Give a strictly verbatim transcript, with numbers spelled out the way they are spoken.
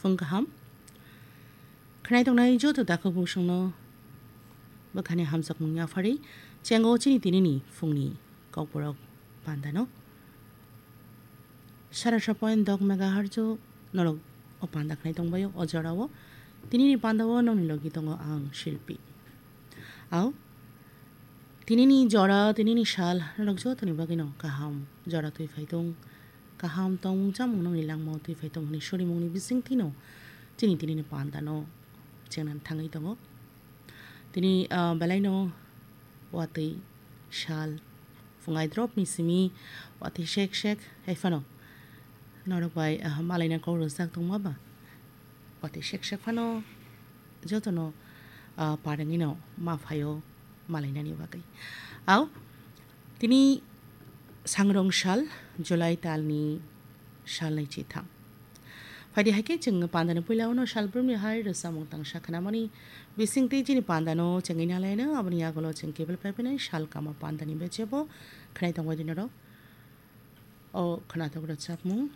Phung kaham. Khwnai tongnai joto takhuk busungno bwkhani hamjakmung yaphari chengo chini tinini phungni kokborok pandano. Sara sapoin dok megahertz o norok o panda khwnai tongbaio o jorao. Tinini pandao nongni logi tongo ang Shilpi. Au, tinini jora, tinini sal norok jotoni bagwino kaham jora twi phai tong, kaham tongmung chamung nongni langmao twi phai tong hwnwi surimungni bisingtwino chini tinini pandano chengna thangwi tongo. Tini, ah, belaino watwi sal phungai dropni simi watwi sek sek hai phano norok bai, ah, malaina kok rwjak tongma ba watwi sek sek phano jotono, ah, parengwino ma phaio malainani bagwi. Au, tini sangrong sal, July talni salnwi chitham. Phaidi hai khe chwng pandani puila uno salbrumni hai rwchapmung tangsa khnamani bisingtwi chini pandano chengwi nalaino, aboni yagulo chwng kebel paiphino sal kama pandani bechebo khnai tongbai di norok. O khwnathok rwchapmung